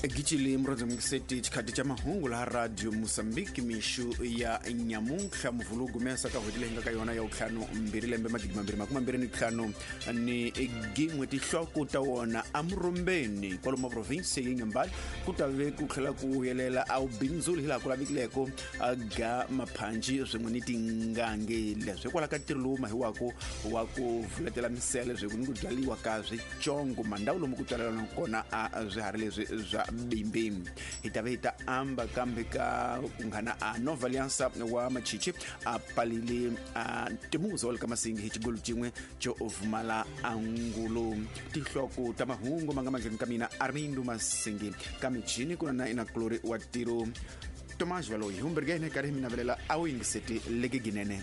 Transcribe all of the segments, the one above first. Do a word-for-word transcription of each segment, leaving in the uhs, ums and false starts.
Gicile murodzomukiseti chikhati cha mahungu laha Radio Mozambique mixu ya nyamuntlha muvhulu gumesa ka n'hweti leyi nga ka yona ya vutlhanu mbirhi lembe magidi mambirhi makume mbirhi ni ntlhanu ni gin'we. Tinhloko ta wona eMurumbeni kwalomu province ya Inhambane ku ta ve ku tlhela ku vuyelela a wubindzuli hilaha ku lavekileko ga maphanji swin'we ni tingangi. Leswi hikwalaho ka ntirho lowu mahiwaka wa ku vuletela misele swin'we ni ku byariwa ka switsongo mandhawu lomu ku tswalelana kona a swiharhi leswi swa bimbi. Hi ta ve hi ta amba kambe ka kunghana a Nova Aliança wa Machichi a palile a timuzo wa le ka Masingi hi xigolo xin'we xo vumala angulo. Tinhloko ta mahungu ma nga mandleni ka mina Armindo Masingi ka michini ku na na inakulori wa tiro Tomás Valoyi humbergene karhi mi navelela a wu yingiseti leke ginene.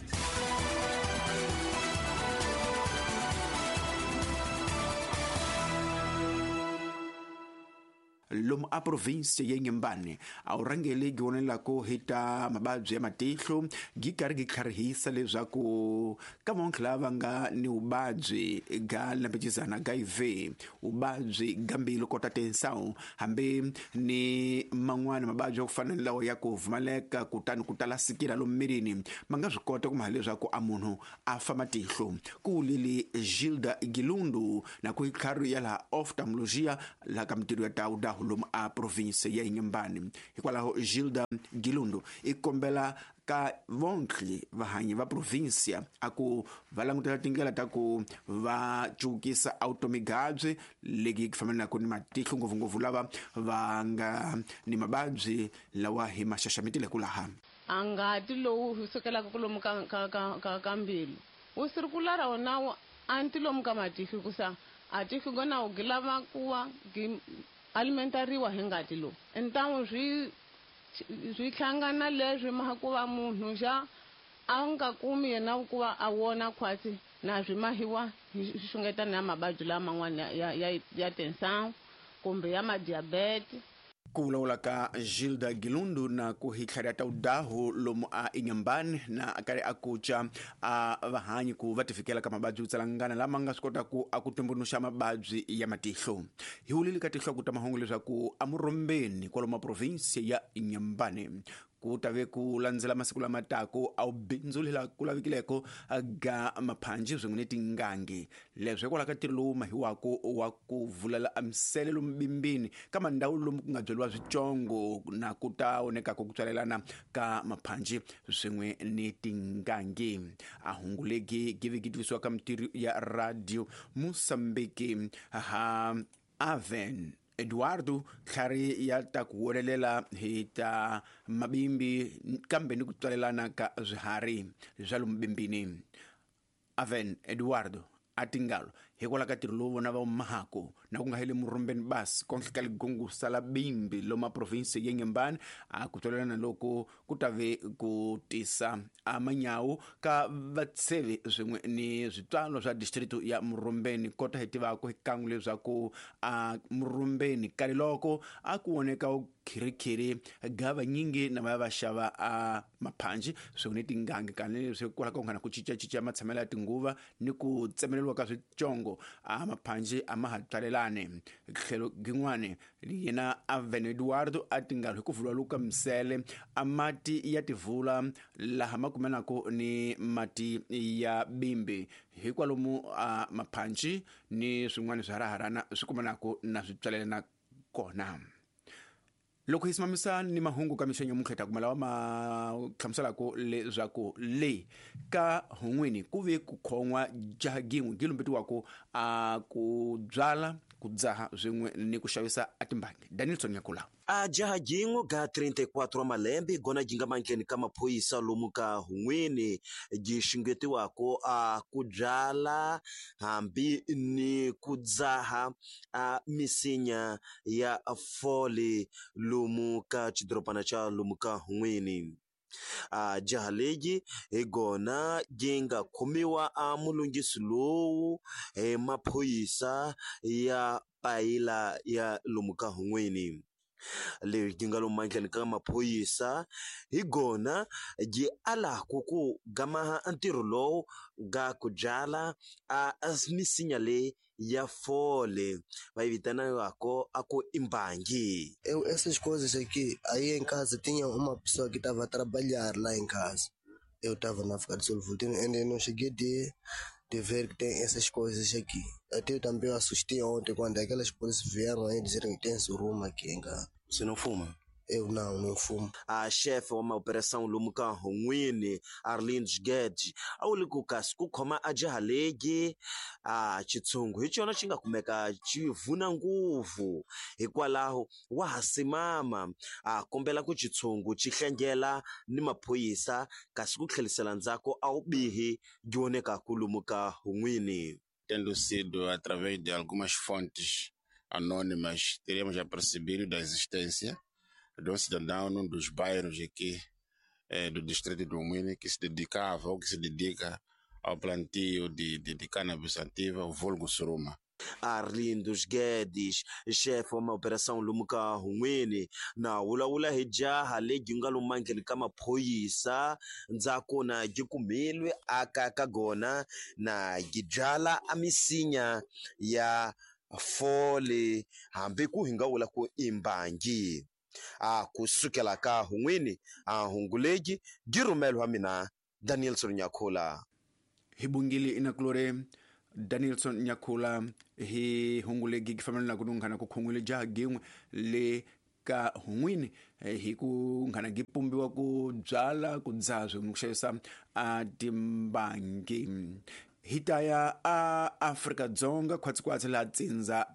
Lomu a province ya Inhambane a wu rhangeli gi vonelako hi ta mavabyi ya matihlo gi karhi gi tlharihisa leswaku ka van'wana lava nga ni vuvabyi ga lembecizana ga I V, vuvabyi ga mbilu kota tensão hambi ni man'wana mavabyi ya ku fana ni lawa ya ku pfumaleka kutani ku tala sikila lomu mirini ma nga swi kota ku maha leswaku a munhu a fa matihlo. Ku wulile Gilda Gilundu na ku tlhari ya laha oftalmologia laha ka mitirho ya tawuda lomu a province ya Inhambane. Hikwalaho Gilda Gilundu i kombela ka vontlhi vahanyi va provincia a ku va langutela tindlela ta ku va cukisa automigabyi legi fambelaka ni matihlo ngopfungopfu lava va nga ni mavabyi lawa hi ma xaxametile ku laha. A ngati lowu sukelaka lomu ka ka ka ka ka mbilu wu sirikulara wona anti lomu ka matihlo kusa a tihlo gona wu lava ku wa alimentariwa hi ngati lowu ntangu swi swi hlangana leswi ma ku va munhu xa a nga kumi yena ku va a wona khwatsi na swi mahiwa hi xungeta na mavabyi laman'wana ya ya ya tensão kumbe ya madiabete. Ku vulavula ka Gilda Gilundu na ku hi tlhari ya tawudahu lomu a Inhambane na a karhi a kuca a vahanyi ku va tifikela ka mavabyi yo tsalangana lama nga swi kotaka a ku tumbuluxa mavabyi ya matihlo. Hi wulile ka tinhloko ta mahungu leswaku eMurumbeni kwalomu province ya Inhambane ku ta ve ku landzela masiku lama taka a wu bindzuli laha ku lavekileko ga maphanji swin'we ni tingangi. Leswi hikwalaho ka ntirho lowu mahiwaka wa ku vulela a misele lomu bimbini ka mandhawu lomu ku nga byeriwa switsongo na ku ta onekaka ku tswalelana ka maphanji swin'we ni tingangi. A hungu legi gi ve gi tivisiwa ka mitirho ya Radio Mozambique ha Aven Eduardo tlhari ya ta ku wolelela hi ta mabimbi kambe ni ku tswalelana ka swiharhi swa lomu bimbini. Aven Eduardo a tingalo hikwalaho ka ntirho lowu vona va mahako na ku nga heli Murumbeni basi konhle ka ligongo sala bimbi loma province ya Inhambane a ku tswalelana loko ku ta ve ku tisa a manyawu ka vatshevi swin'we ni switswalo swa district ya Murumbeni. Kota hi tivaka hi kan'we leswaku a Murumbeni kale loko a ku voneka khirikhiri ga vanyingi na va va xava a maphanji swin'we ni tingangi kani leswi hikwalaho ka ku nga na ku cincacinca matshamelo ya tinguva ni ku tsemeleriwa ka switsongo a maphanji a ma ha tswalelani. Tlhelo gin'wani yena Aven Eduardo a tingalo hi ku vula luka misele a mati ya tivula laha ma kumanaka ni mati ya bimbi hikwalomu a maphanji ni swin'wana swiharaharana swi kumanaka na swi tswalelana kona. Loko hi simamisa ni mahungu ka mixo nyamuntlha ta kuma lawa ma hlamuselaka leswaku le ka hun'wini ku ve ku khon'wa jaha gin'we gi lumbetiwaka a ku byala ku dzaha swin'we ni ku xavisa a timbangi. Danielson Nyakula. A jaha gin'we ga trinta e quatro wa malembe gona gi nga mandleni ka maphorisa lomu ka hun'wini gi xungetiwaka a ku byala hambi ni ku dzaha a misinya ya fole lomu ka xidorobana xa lomu ka hun'wini. A jaha legi hi gona gi nga khomiwa a mulunghisi lowu hi maphorisa ya payila ya lomu ka hun'wini. Leri nga lomu mandleni ka maphorisa hi gona byi alaku ku gamaha ntirho lowu ga ku byala a misinya leyi ya fole va yi vitanaka a ku i mbangi. Eu essas coisas aqui, aí em casa tinha uma pessoa que estava a trabalhar lá em casa. Eu estava na África do Sul, voltei, ainda não cheguei de, de ver que tem essas coisas aqui. Até eu também assustei ontem quando aquelas polícias vieram aí dizerem que tem suruma aqui em casa. Você não fuma? Eu não, não fumo. A chefe wa maoperação lomu ka Hun'wini Arlindo Guedes a wu le ku kasi ku khoma a jaha legi a xitshungu hi xona xi nga kumeka xi vuna nguvu, hikwalaho wa ha simama a kombela ku xitshungu xi hlengela ni maphorisa kasi ku tlhelisela ndzhaku a wu bihi byi vonekaku lomu ka Hun'wini. Tendo sido através de algumas fontes anônimas, teríamos já percebido da existência de um cidadão num dos bairros aqui eh, do distrito do Huíne que se dedicava ou que se dedica ao plantio de, de, de cannabis sativa, o vulgo suruma. Arlindo Guedes, chefe wa maoperação lomu ka Hun'wini, na vulavula hi jaha lebyi nga lomu mandleni ka maphorisa ndzhaku na byi kumilwe aka ka gona na byi byala a misinya ya fole hambi ku hi nga vula ku i mbangi. A kusukela ka Hun'wini a hungulegi byi rhumeliwa mina Danielson Nyakhula. Hi bungile inakulore Danielson Nyakhula hi hungulegi ki fambelana ku nunghana ku khungwile jaha gin'we le ka Hun'wini hi ku nghana gi pumbiwa ku byala ku dzaha swin'we ku xavisa a timbangi. Hi ta ya a Afrika-Dzonga khwatsi-khwatsi laha Tsindza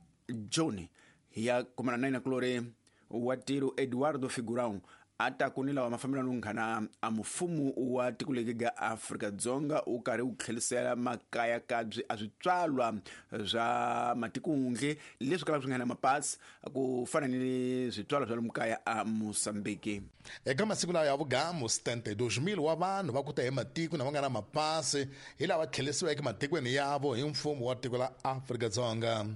John hi ya kumana na inakulore wa tiro Eduardo Figurão a ta ku ni lawa mafambelano nghana a mfumo wa tiko leri ga Afrika-Dzonga u karhi wu tlhelisela makaya kabyi a switswalwa swa matikundle leswi kalaka swi nga na mapasi ku fana ni switswalwa swa lomu kaya a Mozambique. Eka masiku lawa ya vugamu setenta e dois mil wa vanhu va ku ta hi matiko na va nga na mapasi hi lava tlhelisiweke matikweni yavo hi mfumo wa tiko la Afrika-Dzonga.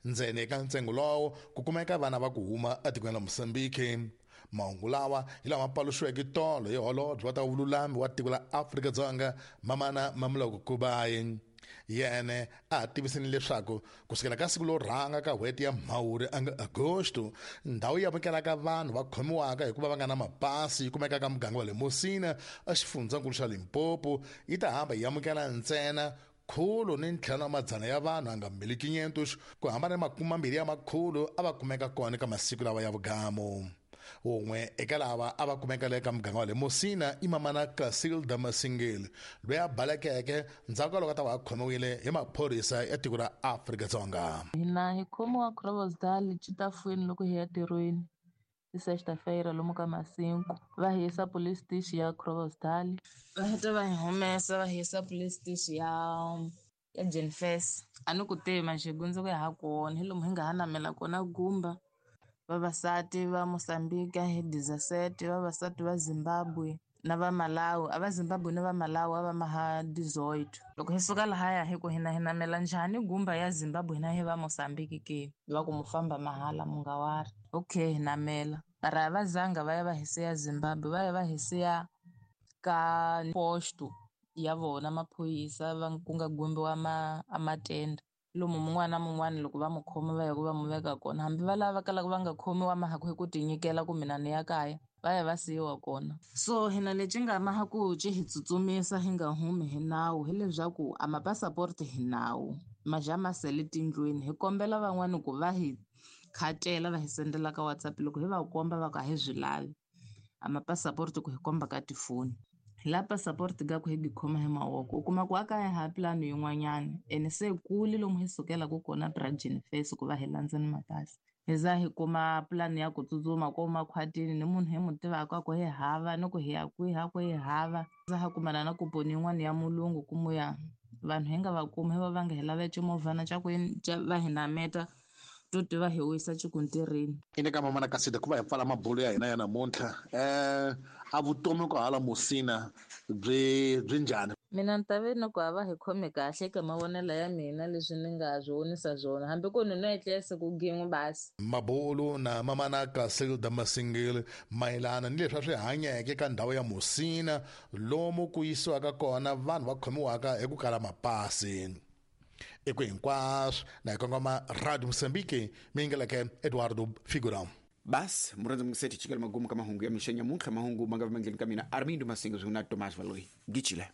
Ntsena eka ntsengo lowo ku kumeka vana va ku huma etikweni la Mozambique. Mahungu lawa hi lama paluxiweke tolo hi holobye wa ta vululami wa tiko la Afrika-Dzonga Mamana Mamoloko Kubayi. Yena a tivisini leswaku kusukela ka siku lo rhanga ka n'hweti ya Mhawuri anga Agosto, ndhawu yi amukelaka vanhu va khomiwaka hikuva va nga na mapasi yi kumeka ka muganga wa le Musina exifundzankulu xa Limpopo yi ta hamba yi amukela ntsena khulu ni ntlhanu wa madzana ya vanhu anga mil quinhentos ku hambana ni makume mambirhi ya makhulu a va kumeka kona eka masiku lawa ya vugamu. Wun'we eka lava a va kumeka le ka muganga wa le Musina i Mamana Casilda Masingeli loyi a balekeke ndzhaku ka loko a ta va a khomiwile hi maphorisa ya tiko ra Afrika-Dzonga. Hina hi khomiwa Groblersdal Chitafweni loko hi ya ntirhweni hi sexta-feira lomu ka masinku va hi yisa police station ya Groblersdal, va heta va hi humesa va hi yisa police station ya ya Jenfes. A ni ku tivi manjhe gundzuku ya ha kona hi lomu hi nga ha namela kona gumba. Vavasati va Mozambique hi dezesete, vavasati va Zimbabwe na va Malawi, a va Zimbabwe na va Malawi a va maha dezoito. Loko hi suka lahaya hi ku hina hi namela njhani gumba ya Zimbabwe hina hi va Mozambique ke va ku mu famba mahala mu nga wari. Okay, hi namela mara a va zanga va ya va hi siya Zimbabwe, va ya va hi siya ka posto ya vona maphorisa va ku nga gumbiwa ma a matende. Lomu mun'wana na mun'wana loko va mu khoma va ya ku va mu veka kona, hambi va lava kalaka va nga khomiwa mahaku hi ku tinyikela ku mina ni ya kaya va ya va siyiwa kona. So hina lexi nga mahaku xi hi tsutsumisa hi nga humi hi nawu hileswaku a mapasaporti hi nawu maja ma sele tindlwini. Hi kombela van'wani ku va hi khatela va hi sendela ka WhatsApp loko hi va komba va ku a hi swi lavi a mapasaporti ku hi komba ka tifoni. La passport ga ku hi khoma hi mavoko u kuma ku a kaya ha plan yin'wanyana ene se kule lomu hi sukelaka kona Bridgin Face ku va hi landza ni mapasi hi za hi kuma plan ya ku tsutsuma ko makhwatini ni munhu hi mu tivaka ku hi hava ni ku hi ya kwihi a ku hi hava za ha kumana na kuponi yin'wana ya mulungu ku muya vanhu hi nga va kumi hi va va nga hi lava ximovhana xa ku va hi nameta to tiva hi wisa xikuntirini. Ine ka Mamana Kasida ku va hi pfala mabulo ya hina ya namuntlha eh a vutomi ku hala Musina byi byi njhani? Mina ni ta ve ni ku a va hi khomi kahle eka mavonelo ya mina leswi ni nga swi vonisa swona hambi ku ni no etlela siku gin'we basi. Mabulu na mamana Casilda Masingile mayelana ni leswi a swi hanyeke ka ndhawu ya Musina lomu ku yisiwaka kona vanhu va khomiwaka hi ku kala mapasi. Eku hinkwaswo na hi kongoma Radio Mozambique mi yingeleke Eduardo Figurão. Basi murhandzi mungiseti chikela magumu ka mahungu ya mixo nyamuntlha mahungu ma nga va mandleni ka mina Armindo Masinga swin'we na Tomás Valoyi gichile.